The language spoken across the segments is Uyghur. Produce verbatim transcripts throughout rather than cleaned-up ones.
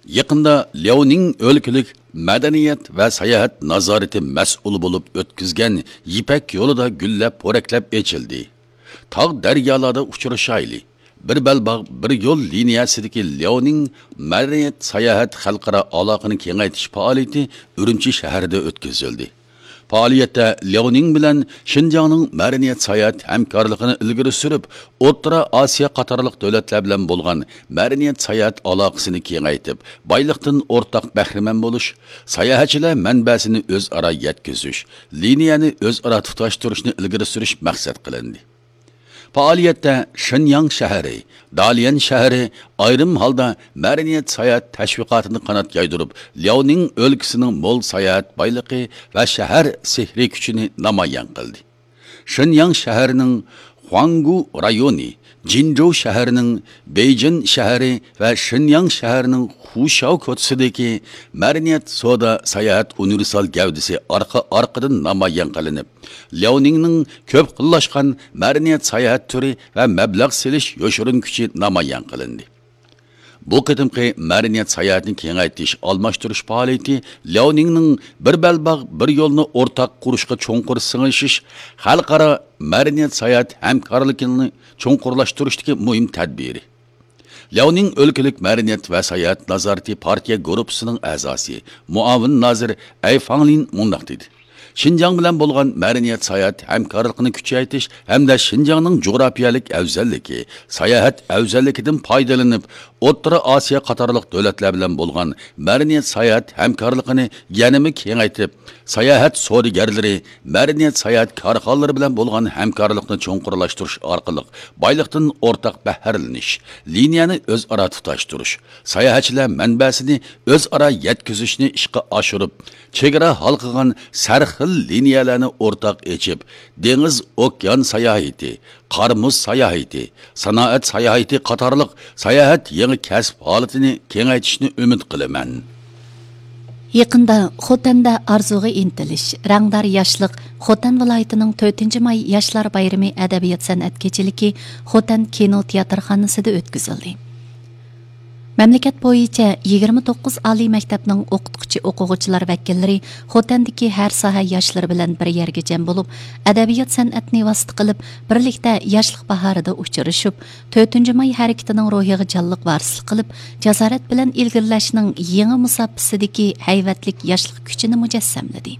يېقىندا لياۋنىڭ ئۆلكىلىك مەدەنىيەت ۋە ساياھەت نازارىتى مەسئۇلى بولۇپ ئۆتكۈزگەن يىپەك يولىدا گۈللەپ پورەكلەپ ئېچىلدى. تاغ دەريالاردا ئۇچرىشايلى، بىر بەلباغ، بىر يول لىنىيەسىدىكى لياۋنىڭ مەدەنىيەت ساياھەت خەلقئارا ئالاقىنى كېڭەيتىش پائالىيىتى ئۈرۈمچى شەھىرىدە ئۆتكۈزۈلدى. پائالىيەتتە لياۋنىڭ بىلەن شىنجاڭنىڭ مەدەنىيەت ساياھەت ھەمكارلىقىنى ئىلگىرى سۈرۈپ، ئوتتۇرا ئاسىيا قاتارلىق دۆلەتلەر بىلەن بولغان مەدەنىيەت ساياھەت ئالاقىسىنى كېڭەيتىپ، بايلىقتىن ئورتاق بەھرىمەن بولۇش، ساياھەتچىلەر مەنبەسىنى ئۆزئارا يەتكۈزۈش، لىنىيەنى ئۆزئارا تۇتاشتۇرۇشنى ئىلگىرى سۈرۈش مەقسەت قىلىندى. پائالىيەتتە شېنياڭ شەھىرى، داليەن شەھىرى ئايرىم ھالدا مەدەنىيەت ساياھەت تەشۋىقاتىنى قانات يايدۇرۇپ، لياۋنىڭ ئۆلكىسىنىڭ مول ساياھەت بايلىقى ۋە شەھەر سېھرىي كۈچىنى نامايان قىلدى. شېنياڭ شەھىرىنىڭ خۇاڭگۇ رايونى، جىنجۇ شەھىرىنىڭ بېيجىن شەھىرى ۋە شېنياڭ شەھىرىنىڭ خۇشاۋ كوچىسىدىكى مەدەنىيەت سودا ساياھەت ئۇنىۋېرسال گەۋدىسى ئارقا-ئارقىدىن نامايان قىلىنىپ، لياۋنىڭنىڭ كۆپ خىللاشقان مەدەنىيەت ساياھەت تۈرى ۋە مەبلەغ سېلىش يوشۇرۇن كۈچى نامايان قىلىندى. بۇ قېتىمقى مەدەنىيەت ساياھەتنى كېڭەيتىش، ئالماشتۇرۇش پائالىيىتى لياۋنىڭنىڭ بىر بەلباغ، بىر يولنى ئورتاق قۇرۇشقا چوڭقۇر سىڭىشىش، خەلقئارا مەدەنىيەت ساياھەت ھەمكارلىقىنى چوڭقۇرلاشتۇرۇشتىكى مۇھىم تەدبىرى. لياۋنىڭ ئۆلكىلىك مەدەنىيەت ۋە ساياھەت نازارىتى پارتىيە گۇرۇپپىسىنىڭ ئەزاسى، مۇئاۋىن نازىر ئەي فاڭلىن مۇنداق دېدى: شىنجاڭ بىلەن بولغان مەدەنىيەت ساياھەت ھەمكارلىقىنى كۈچەيتىش ھەمدە شىنجاڭنىڭ جۇغراپىيەلىك ئەۋزەللىكى، ساياھەت ئەۋزەللىكىدىن پايدىلىنىپ، ئوتتۇرا ئاسىيا قاتارلىق دۆلەتلەر بىلەن بولغان مەدەنىيەت ساياھەت ھەمكارلىقىنى يەنىمۇ كېڭەيتىپ، ساياھەت سودىگەرلىرى، مەدەنىيەت ساياھەت كارخانىلىرى بىلەن بولغان ھەمكارلىقنى چوڭقۇرلاشتۇرۇش ئارقىلىق بايلىقتىن ئورتاق بەھرىلىنىش، لىنىيەنى ئۆزئارا تۇتاشتۇرۇش، ساياھەتچىلەر مەنبەسىنى ئۆزئارا يەتكۈزۈشنى ئىشقا ئاشۇرۇپ، چېگرا ھالقىغان سەرخىل لىنىيەلەرنى ئورتاق ئېچىپ، دېڭىز، ئوكيان ساياھىتى، قار-مۇز ساياھىتى، سانائەت ساياھىتى قاتارلىق ساياھەت يېڭى كەسىپ ھالىتىنى كېڭەيتىشنى ئۈمىد قىلىمەن. يېقىندا خوتەندە ئارزۇغا ئىنتىلىش، رەڭدار ياشلىق، خوتەن ۋىلايىتىنىڭ تۆتىنچى ماي ياشلار بايرىمى ئەدەبىيات سەنئەت كېچىلىكى خوتەن كىنو تىياتىرخانىسىدا ئۆتكۈزۈلدى. مەملىكەت بويىچە يىگىرمە توققۇز ئالىي مەكتەپنىڭ ئوقۇتقۇچى ئوقۇغۇچىلار ۋەكىللىرى خوتەندىكى ھەر ساھە ياشلىرى بىلەن بىر يەرگە جەم بولۇپ، ئەدەبىيات سەنئەتنى ۋاسىتە قىلىپ، بىرلىكتە ياشلىق باھارىدا ئۇچرىشىپ، تۆتىنچى ماي ھەرىكىتىنىڭ روھىغا جانلىق ۋارىسلىق قىلىپ، جاسارەت بىلەن ئىلگىرىلەشنىڭ يېڭى مۇساپىسىدىكى ھەيۋەتلىك ياشلىق كۈچىنى مۇجەسسەملىدى.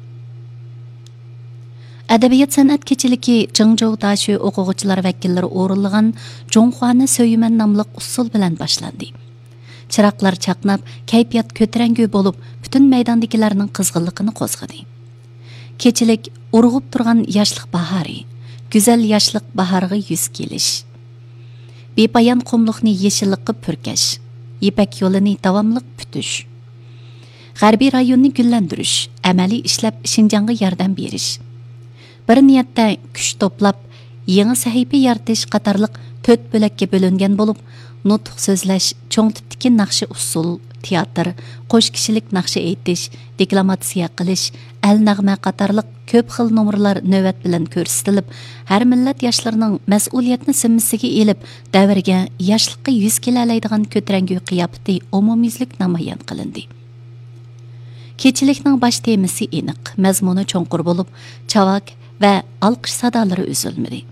ئەدەبىيات سەنئەت كېچىلىكى جېڭجوۋ داشۆ ئوقۇغۇچىلار ۋەكىللىرى ئورۇنلىغان جۇڭخۇانى سۆيىمەن ناملىق ئۇسسۇل بىلەن باشلاندى. چىراغلار چاقناپ، كەيپىيات كۆتۈرەڭگۈ بولۇپ، پۈتۈن مەيداندىكىلەرنىڭ قىزغىنلىقىنى قوزغىدى. كېچىلىك ئۇرغۇپ تۇرغان ياشلىق باھارى، گۈزەل ياشلىق باھارىغا يۈز كېلىش. بىپايان قۇملۇقنى يېشىللىققا پۈركەش، يىپەك يولىنى داۋاملىق پۈتۈش. غەربىي رايوننى گۈللەندۈرۈش، ئەمەلىي ئىشلەپ شىنجاڭغا ياردەم بېرىش. بىر نىيەتتە كۈچ توپلاپ، يېڭى سەھىپە يارىتىش قاتارلىق تۆت بۆلەككە بۆلۈنگەن بولۇپ، نۇتۇق سۆزلەش، چوڭ تىپتىكى ناخشا ئۇسسۇل، تىياتىر، قوش كىشىلىك ناخشا ئېيتىش، دېكلاماتسىيە قىلىش، ئەل نەغمە قاتارلىق كۆپ خىل نومۇرلار نۆۋەت بىلەن كۆرسىتىلىپ، ھەر مىللەت ياشلىرىنىڭ مەسئۇلىيەتنى زىممىسىگە ئېلىپ، دەۋرگە، ياشلىققا يۈز كېلەلەيدىغان كۆتۈرەڭگۈ قىياپىتى ئومۇميۈزلۈك نامايان قىلىندى. كېچىلىكنىڭ باش تېمىسى ئېنىق، مەزمۇنى چوڭقۇر بولۇپ، چاۋاك ۋە ئالقىش سادالىرى ئۈزۈلمىدى.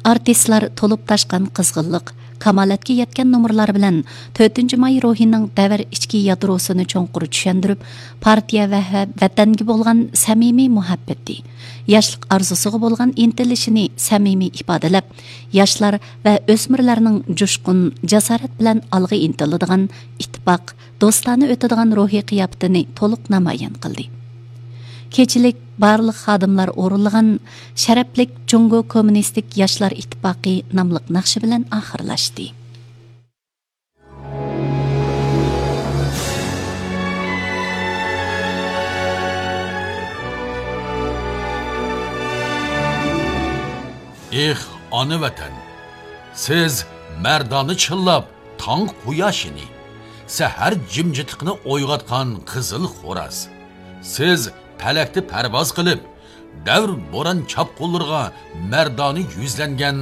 ئارتىسلار تولۇپ تاشقان قىزغىنلىق، كامالەتكە يەتكەن نومۇرلار بىلەن تۆتىنچى ماي روھىنىڭ دەۋر ئىچكى يادروسىنى چوڭقۇر چۈشەندۈرۈپ، پارتىيە ۋە ھە-، ۋەتەنگە بولغان سەمىمىي مۇھەببىتى، ياشلىق ئارزۇسىغا بولغان ئىنتىلىشىنى سەمىمىي ئىپادىلەپ، ياشلار ۋە ئۆسمۈرلەرنىڭ جۇشقۇن، جاسارەت بىلەن ئالغا ئىنتىلىدىغان، ئىتتىپاق، دوستانە ئۆتىدىغان روھىي قىياپىتىنى تولۇق نامايان قىلدى. كېچىلىك بارلىق خادىملار ئورۇنلىغان شەرەپلىك جۇڭگو كوممۇنىستىك ياشلار ئىتتىپاقى ناملىق ناخشا بىلەن ئاخىرلاشتى. ئېھ، ئانا ۋەتەن! سىز مەردانە چىللاپ، تاڭ قۇياشىنى، سەھەر جىمجىتلىقىنى ئويغاتقان قىزىل خوراز. سىز پەلەكتە پەرۋاز قىلىپ، دەۋر بوران چاپقۇنلىرىغا مەردانە يۈزلەنگەن